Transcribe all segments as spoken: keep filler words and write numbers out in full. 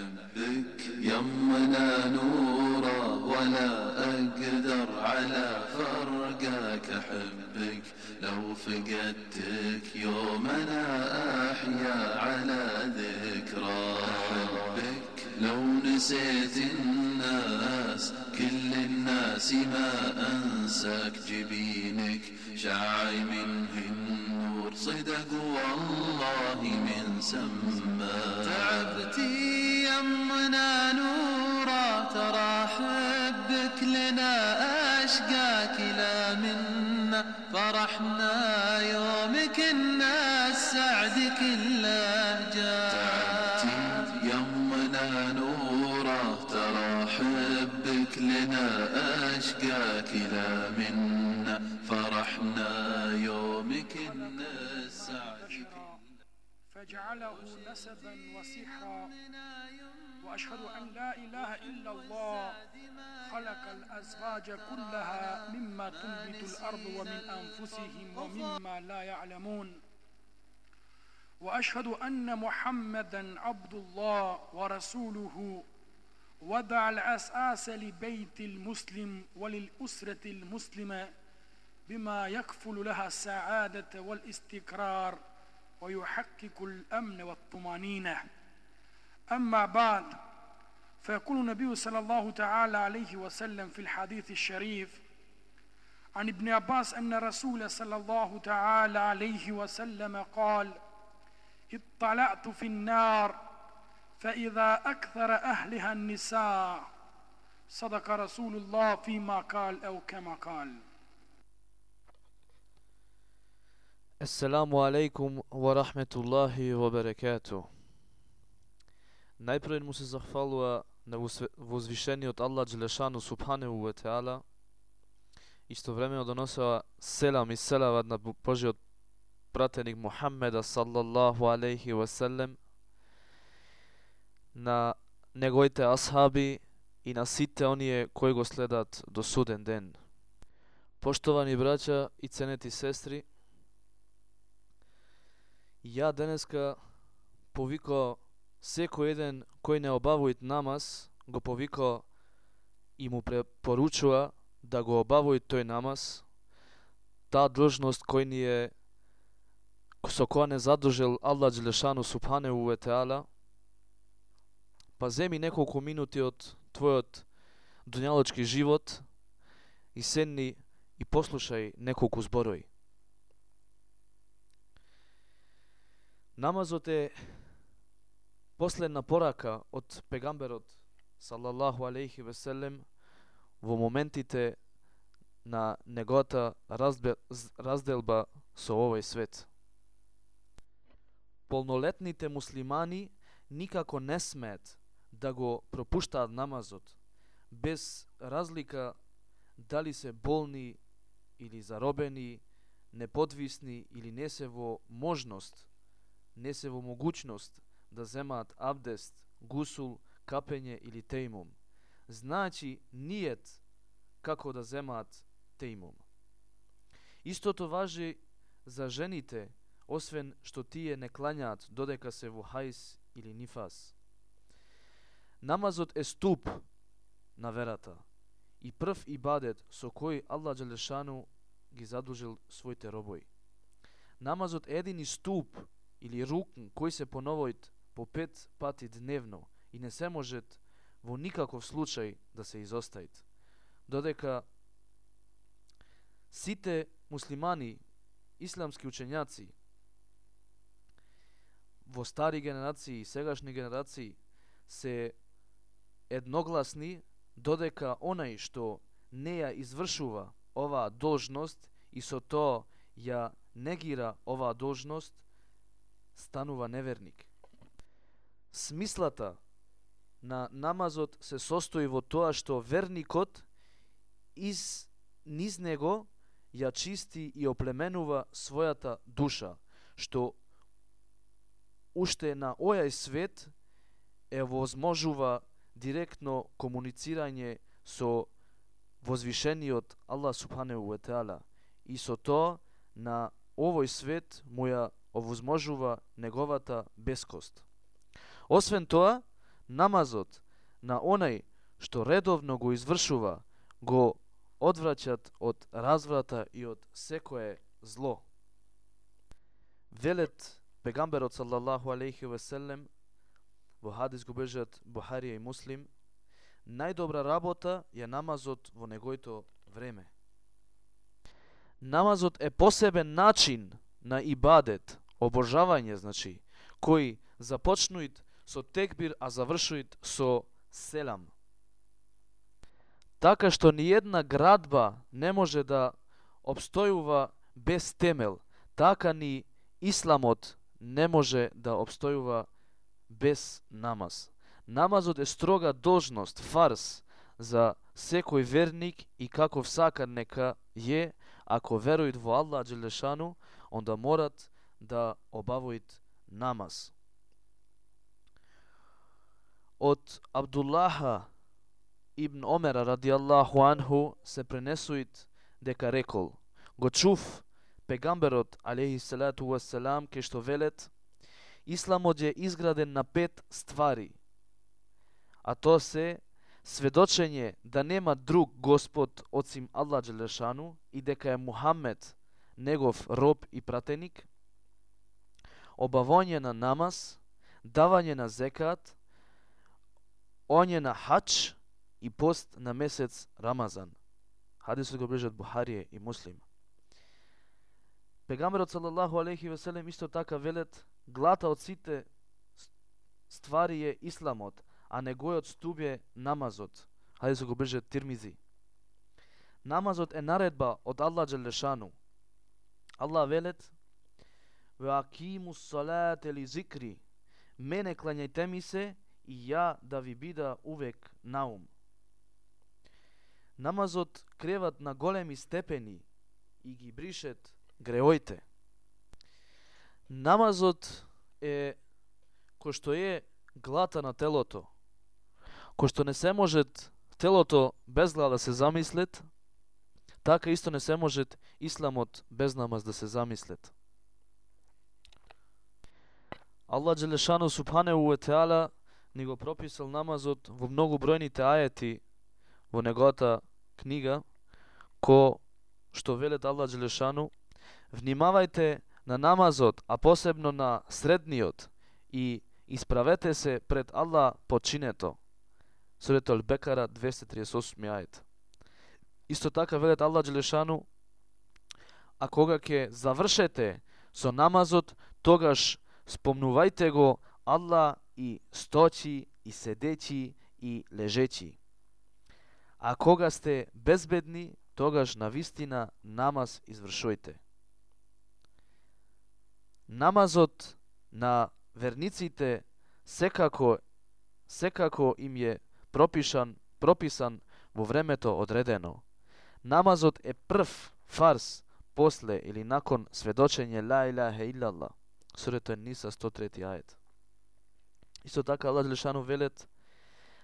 أحبك يمنا نورا ولا أقدر على فرقك أحبك لو فقدتك يوم أنا أحيا على ذكرى أحبك لو نسيت الناس كل الناس ما أنساك جبينك شاعي منه النور صدق والله من سما تعبتي يمنا نورا ترى حبك لنا أشقاك لا منا فرحنا يومك الناس سعد كله جاء تعبتي يمنا نورا ترى حبك لنا أشقاك لا منا فرحنا يومك الناس سعد فجعله نسبا وسحرا وأشهد أن لا إله إلا الله خلق الأزواج كلها مما تنبت الأرض ومن أنفسهم ومما لا يعلمون وأشهد أن محمدا عبد الله ورسوله وضع الأساس لبيت المسلم وللأسرة المسلمة بما يكفل لها السعادة والاستقرار ويحقق الأمن والطمأنينة. أما بعد، فيقول النبي صلى الله تعالى عليه وسلم في الحديث الشريف عن ابن عباس أن رسول صلى الله تعالى عليه وسلم قال: اطلعت في النار فإذا أكثر أهلها النساء. صدق رسول الله فيما قال أو كما قال. Assalamu alaikum wa rahmetullahi wa barakatuh. Najprije mu se zahvaluje na uzvišeniот Allah Đelešanu subhanahu wa ta'ala. Istovremeno donosila selam i selavat na Božiot pratenik Muhammeda sallallahu alaihi wa sallam, na njegovite ashabi i na site onije koji go sledat do suden den. Poštovani braća i ceneti sestri, ja денеска повикao секој еден кој не обавуит намаз, го повикao и му препоручува да го обавуит тој намаз, таа длжност кој ни е со која не задужил Аллах Đelešanu subhanahu wa ta'ala, па земи неколку минути од твојот дуњалочки живот и седни и послушај неколку зборови. Намазот е последна порака од пегамберот салаллаху алейхи ве селем во моментите на неговата разделба со овој свет. Полнолетните муслимани никако не смеат да го пропуштаат намазот, без разлика дали се болни или заробени, неподвисни или не се во можност, не се во могуćност да земаат абдест, гусул, капење или тејмум. Значи нијет како да земаат тејмум. Истото важи за жените, освен што тие не клањаат додека се во хајс или нифас. Намазот е ступ на верата и прв ибадет со кој Аллах Đelešanu ги задужил своите робови. Намазот е едини ступ или рукн кој се поновоит по пет пати дневно и не се может во никаков случај да се изостаит. Додека сите муслимани, исламски учењаци, во стари генерации и сегашни генерации се едногласни додека онај што не ја извршува оваа должност и со тоа ја негира оваа должност, станува неверник. Смислата на намазот се состои во тоа што верникот из низ него ја чисти и оплеменува својата душа, што уште на овој свет е возможува директно комуницирање со возвишениот Аллах субханаху ва таала и со тоа на овој свет му ја овозможува неговата бескост. Освен тоа, намазот на онај што редовно го извршува, го одвраќат од разврата и од секое зло. Велет пегамберот саллаллаху алейхи ве селем, во хадис го бежат Бухарија и Муслим, најдобра работа е намазот во неговото време. Намазот е посебен начин на ибадет, обожавање, значи, кој започнуит со текбир, а завршуит со селам. Така што ни една градба не може да обстојува без темел, така ни исламот не може да обстојува без намаз. Намазот е строга должност, фарс, за секој верник и каков сака нека е, ако веруит во Аллах Джелешану, онда морат да обавоит намаз. Од Абдуллаха ибн Омера радијаллаху анху се пренесуит дека рекол: го чув пегамберот алейхи салату вассалам ке што велет: исламот е изграден на пет ствари, а то се сведочење да нема друг Господ осим Аллах Джелешану и дека е Мухамед негов роб и пратеник, обавање на намаз, давање на зекат, оње на хадж и пост на месец Рамазан. Хадисот го ближат Бухарија и Муслим. Пегамберот салаллаху алейхи ве селем исто така велет: глата од сите ствари е исламот, а негојот стуб е намазот. Хадисот го ближат Тирмизи. Намазот е наредба од Аллах Джелешану. Аллах велет: ве акимус салате ли зикри, мене клањајте ми се и ја да ви бида увек наум. Намазот креват на големи степени и ги бришет греоите. Намазот е кој што е глата на телото, кој што не се может телото без глава да се замислет, така исто не се может исламот без намаз да се замислет. Аллах Джелешану субханеху ва теала ни го прописал намазот во многу бројните ајети во неговата книга, ко што велет Аллах Джелешану: внимавајте на намазот, а посебно на средниот, и исправете се пред Аллах починето. Сурата Ал-Бекара двеста триесет и осми ајет. Исто така велет Аллах Джелешану: а кога ќе завршете со намазот, тогаш спомнувајте го Аллах и стојачи, и седечи, и лежечи. А кога сте безбедни, тогаш навистина намаз извршувајте. Намазот на верниците секако секако им е пропишан прописан во времето одредено. Намазот е прв фарс после или након сведочење ла илаха илlallah. Сурата Ниса сто трети ајет. Исто така Аллах Джелешану велет: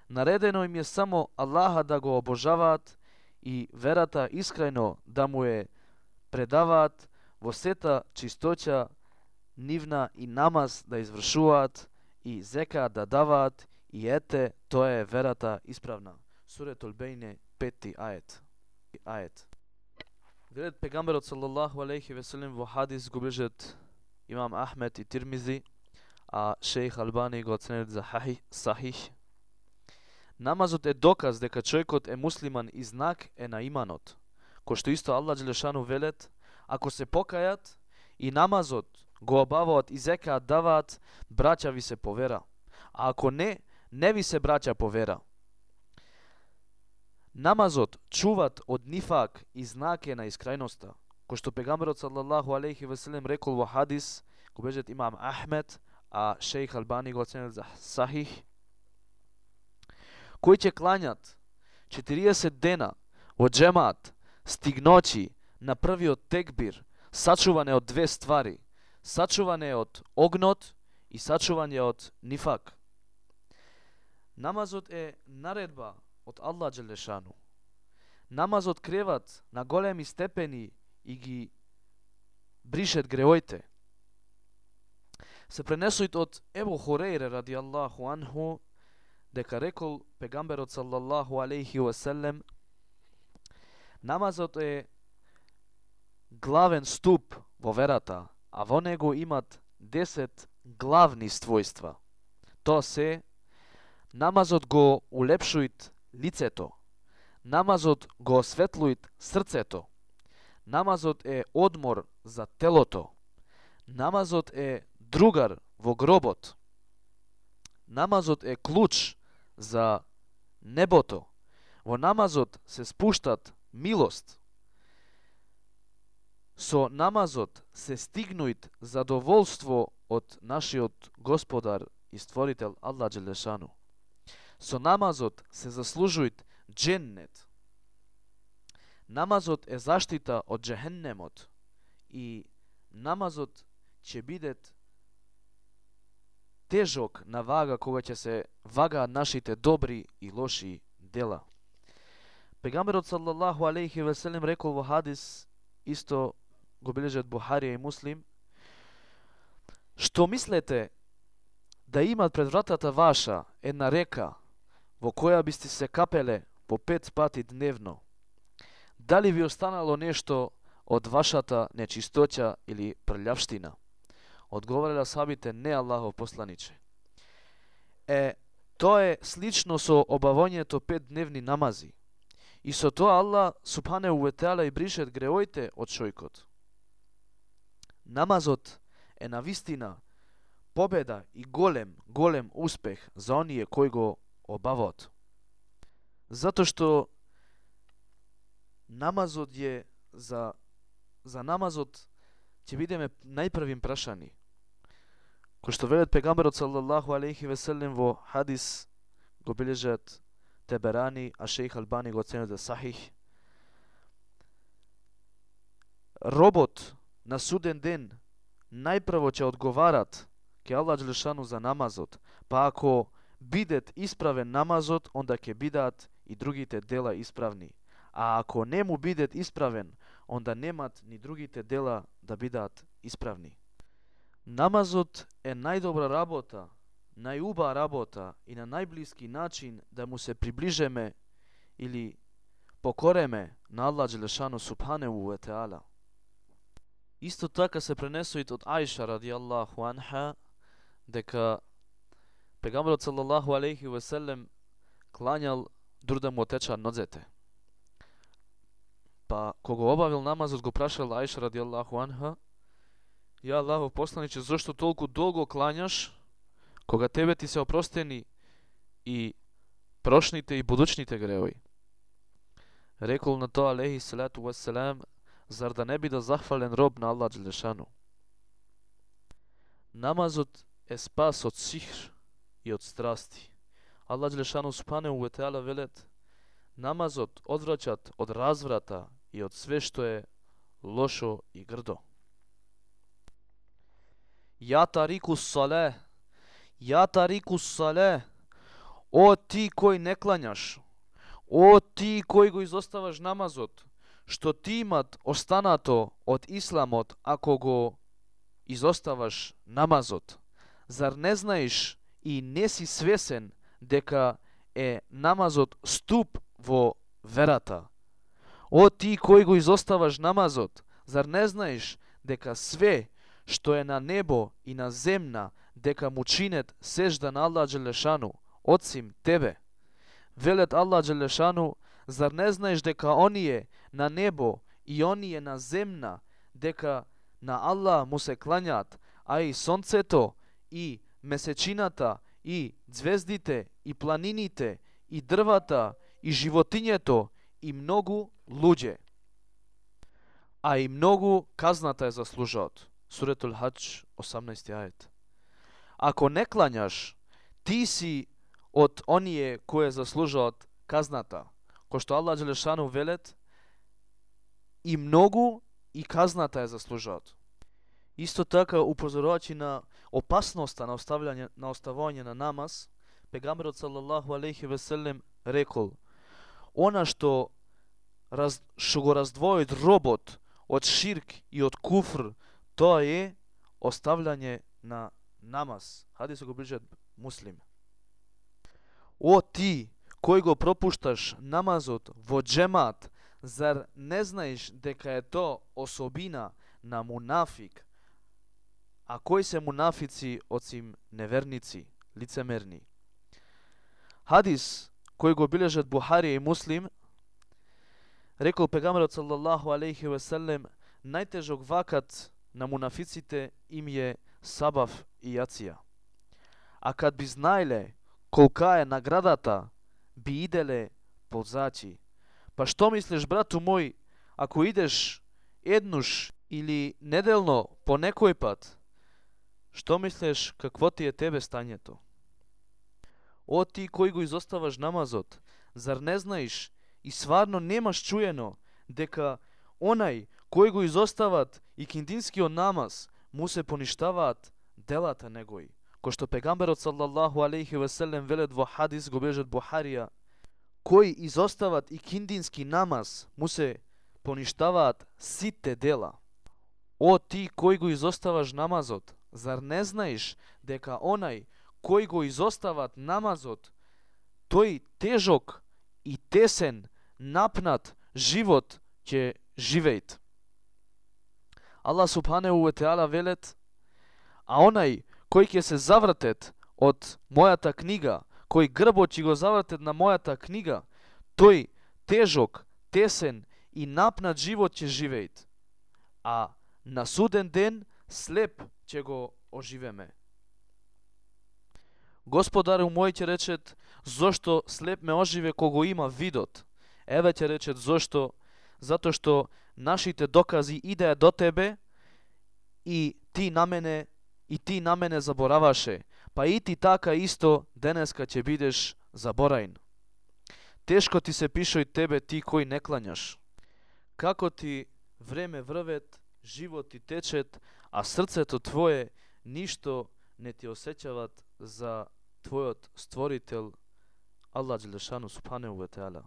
наредено им е само Аллаха да го обожаваат и верата искрено да му е предаваат во сета чистоќа нивна и намаз да извршуваат и зека да даваат и ете, тоа е верата исправна. Суретул Бейне пети ајет. Ајет. Велет пегамберот саллаллаху алейхи ве селем во хадис го ближат имам Ахмед и Тирмизи, а шејх Албани го оценет за сахих. Намазот е доказ дека човекот е муслиман и знак е на иманот. Кој што исто Аллах Джелешану велет: ако се покајат и намазот го обаваат и зекаат даваат, браќа ви се по вера. А ако не, не ви се браќа по вера. Намазот чуват од нифак и знак е на искрајноста. Кој што пегамберот саллаллаху алейхи ве селем рекол во хадис, го бежат имам Ахмед, а шејх Албани го оценет за сахих: кои ќе клањат четириесет дена во джемат, стигночи на првиот текбир, сачуване од две ствари, сачуване од огнот и сачување од нифак. Намазот е наредба од Аллах Джелешану. Намазот креват на големи степени и ги бришет греоите. Се пренесуит од Ебу Хурейре радијаллаху анху дека рекол пегамберот саллаллаху алейхи ва селем, намазот е главен ступ во верата, а во него имат десет главни својства. Тоа се: намазот го улепшуит лицето, намазот го осветлуит срцето, намазот е одмор за телото, намазот е другар во гробот, намазот е клуч за небото, во намазот се спуштат милост, со намазот се стигнуит задоволство од нашиот Господар и Створител Аллах Джелешану. Со намазот се заслужуит дженнет. Намазот е заштита од джехеннемот и намазот ќе биде тежок на вага кога ќе се вагаат нашите добри и лоши дела. Пегамберот саллаллаху алейхи ва селем рекол во хадис, исто го бележат Бухарија и Муслим: што мислете да имат пред вратата ваша една река во која бисте се капеле по пет пати дневно? Дали ви останало нешто од вашата нечистоќа или прљавштина? Одговориле асхабите: не, Аллахов посланиче. Е, тоа е слично со обавањето пет дневни намази. И со тоа Аллах субханеху ве теала и бришет греоите од човекот. Намазот е навистина победа и голем, голем успех за оние кои го обаваат. Затоа што намазот е за за намазот ќе бидеме најпрвим прашани. Кој што велат пегамберот саллаллаху алейхи ве селем во хадис, го бележат Теберани, а шејх Албани го оценува сахих. Робот на суден ден најпрво ќе одговарат ке Аллах Джелешану за намазот, па ако бидет исправен намазот, онда ќе бидат и другите дела исправни. А ако не му бидет исправен, онда немат ни другите дела да бидат исправни. Намазот е најдобра работа, најуба работа и на најблиски начин да му се приближеме или покореме на Аллах Джелешану субханеху ве теала. Исто така се пренесоит од Аиша радијаллаху анха дека пегамберот саллаллаху алейхи ве селем клањал дур да му отеча ноцете. Па кога обавил намазот го прашал Аиша радијаллаху анха: ја Аллахов посланиче, зошто толку долго клањаш кога тебе ти се опростени и прошните и будучните греови? Рекол на тоа алейхи салату вассалам: зар да не биде захвален роб на Аллах Джелешану? Намазот е спас од сихр и од страсти. Аллах Джелешану субханеху ве теала велет: намазот одвраќат од разврата и од све што е лошо и грдо. Ја тарику сале, ја тарику сале, о ти кој не клањаш, о ти кој го изоставаш намазот, што ти имат останато од исламот ако го изоставаш намазот? Зар не знаеш и не си свесен дека е намазот ступ во верата? О ти кој го изоставаш намазот, зар не знаеш дека све што е на небо и на земна, дека му чинет сежда на Аллах Джелешану, одсим тебе? Велет Аллах Джелешану: зар не знаеш дека оние на небо и оние на земна, дека на Аллах му се клањат, а и сонцето, и месечината, и звездите, и планините, и дрвата, и животињето, и многу луѓе. А и многу казната е заслужаат. Суретул Хадж, осамнаести ајет. Ако не клањаш, ти си од оние кои заслужаат казната. Кој што Аллах Джелешану велет: и многу и казната е заслужаат. Исто така, упозорувачи на опасноста на оставање на оставање на намаз, пегамберот саллаллаху алейхи ве селем рекол: она што раз, што го раздвоит робот од ширк и од куфр, тоа е оставање на намаз. Хадис го ближат Муслим. О ти кој го пропушташ намазот во джемат, зар не знаеш дека е то особина на мунафик? А кои се мунафици осим неверници, лицемерни? Хадис кој го билежат Бухарија и Муслим, рекол пегамберот салаллаху алейхи ве селем, најтежок вакат на мунафиците им е сабав и јација. А кад би знаеле колка е наградата, би иделе позачи. Па што мислиш, брату мој, ако идеш еднуш или неделно по некој пат, што мислиш какво ти е тебе стањето? О ти кој го изоставаш намазот, зар не знаеш и сварно немаш чуено дека онај кој го изостават и киндинскиот намаз, му се поништаваат делата негои. Кој што пегамберот салаллаху алейхи ве селем велет во хадис го бележат Бухарија, кој изостават и киндински намаз, му се поништаваат сите дела. О ти кој го изоставаш намазот, зар не знаеш дека онај кој го изостават намазот, тој тежок и тесен, напнат живот ќе живеет. Аллах субханеху ве теала велет, а онај кој ќе се завртет од мојата книга, кој грбот ќе го завртет на мојата книга, тој тежок, тесен и напнат живот ќе живеет. А на суден ден слеп ќе го оживеме. Господару мој ќе речет, зошто слеп ме оживе кога има видот? Еве ќе речет, зошто? Затоа што нашите докази идеа до тебе и ти на мене и ти на мене забораваше, па и ти така исто денеска ќе бидеш забораен. Тешко ти се пишој тебе, ти кој не клањаш. Како ти време врвет, живот ти течет, а срцето твое ништо не ти осеќават за твојот створител Аллах Джелешану субханеху ве теала.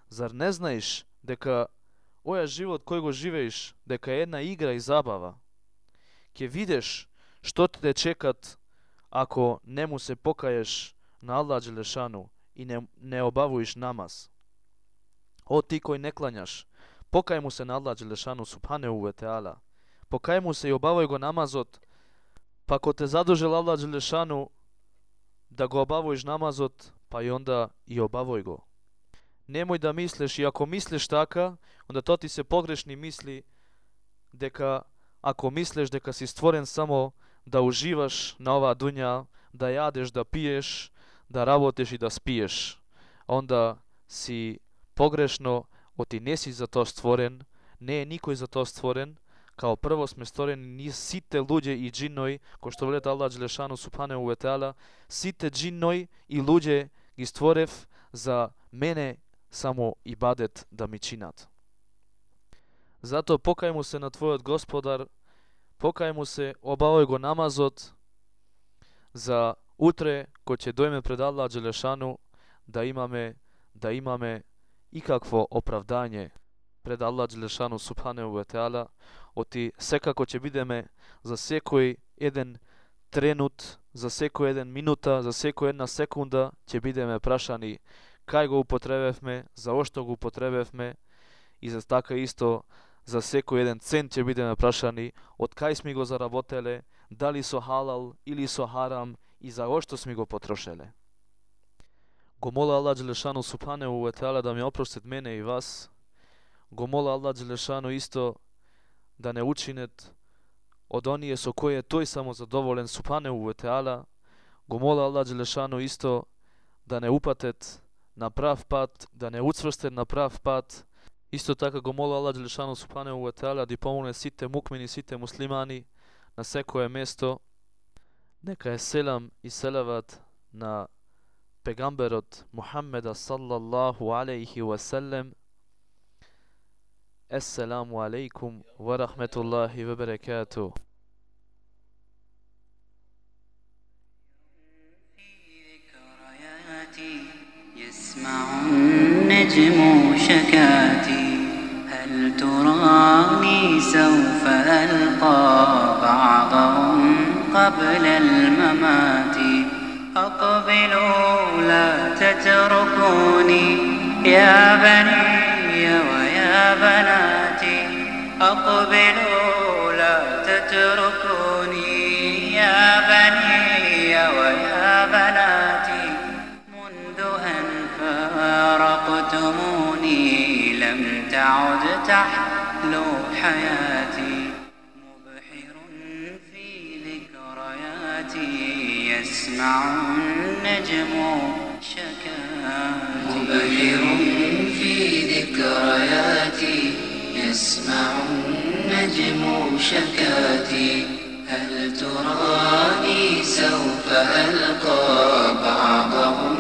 Зар не знаеш дека оја живот кој го живееш, дека е една игра и забава? Ќе видиш што те чекат ако не му се покаеш на Аллах Джелешану и не, не обавуиш намаз. О ти кој не клањаш, покај му се на Аллах Джелешану субханеху ве теала. Покај му се и обавај го намазот, па ако те задужел Аллах Джелешану да го обавуиш намазот, па и онда и обавој го. Немој да мислиш, и ако мислиш така, онда то ти се погрешни мисли, дека ако мислиш дека си створен само да уживаш на оваа дуња, да јадеш, да пиеш, да работиш и да спиеш, онда си погрешно, оти не си за тоа створен, не е никој за тоа створен. Као прво сме створени ние сите луѓе и джиннои, кој што велет Аллах Джелешану субханеху ве теала, сите джиннои и луѓе ги створев за мене само ибадет да ми чинат. Затоа покај му се на твојот Господар, покај му се, обавај го намазот, за утре кој ќе дојме пред Аллах Джелешану да имаме да имаме и какво оправдање пред Аллах Джелешану субханеху ве теала. Оти секако ќе бидеме за секој еден тренут, за секој еден минута, за секој една секунда ќе бидеме прашани кај го употребевме, за ошто го употребевме, и за така исто за секој еден цент ќе бидеме прашани од кај сме го заработеле, дали со халал или со харам и за ошто сме го потрошеле. Го моля Аллах Джелешану субханеху ве теала да ми опростит мене и вас. Го моля Аллах Джелешану исто да не учинет од оние со кои е тој само задоволен субханеху ве теала. Го моля Аллах Джелешану исто да не упатет на прав пат, да не уцврстет на прав пат. Исто така го моля Аллах Джелешану субханеху ве теала да помогне сите мукмини, сите муслимани на секое место. Нека е селам и селават на пегамберот Мухаммеда саллаллаху алейхи ва селем. Ассаламу алейкум ва рахметуллахи ва баракатуh. يسمع النجم شكاتي هل تراني سوف ألقى بعضهم قبل الممات أقبل لا تتركوني يا بني ويا بناتي أقبلوا لا تتركوني يا بني ويا بناتي منذ أن فارقتموني لم تعد تحلو حياتي مبحر في ذكرياتي يسمع النجم شكاتي مبحر في ذكرياتي يسمع النجم شكاتي هل تراني سوف ألقى بعضهم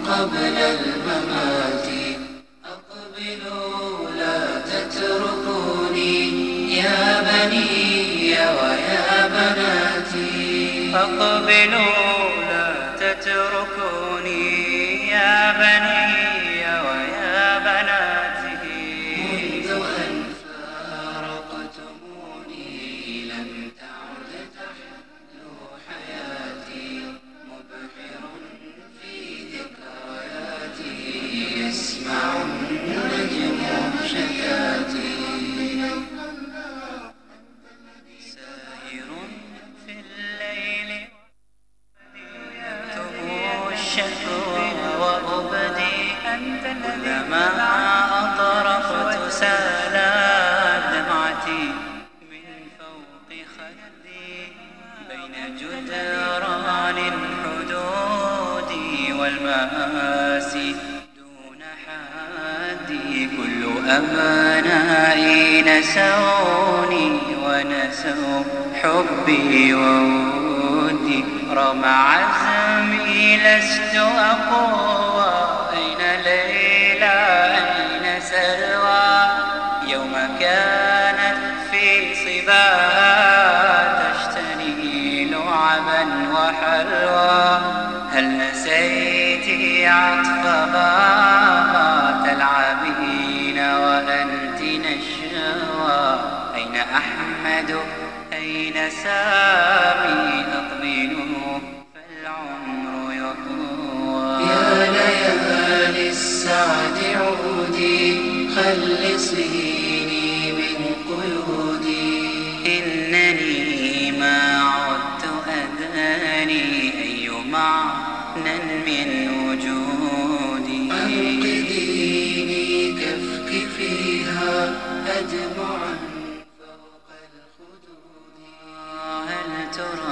قبل الممات أقبلوا لا تتركوني يا بني ويا بناتي أقبلوا لا تتركوني يا بني ويا بناتي منذ أن فارقتموني لم تعد تحلو حياتي مبحر في ذكرياتي يسمع النجم شكاتي ساهر في الليل يكتب الشكوى وأبدي كلما أطرفت سالت دمعتي من فوق خدي بين جدران الحدود والمآسي دون حدي كل أبنائي نسوني ونسوا حبي وودي رغم عزمي لست أقوى أين ليلى أين سلوى يوم كانت في صباها تشتني لعبا وحلوى هل نسيتي عطفها تلعبين وأنت نشوى أين أحمد أين سامي أقبلوا فالعمر يطوى يا ليالي السعد عودي خلصيني من قيودي إنني ما عدت أداني أي معنى من وجودي أنقذيني كفك فيها أدمعا فوق الخدود هل ترى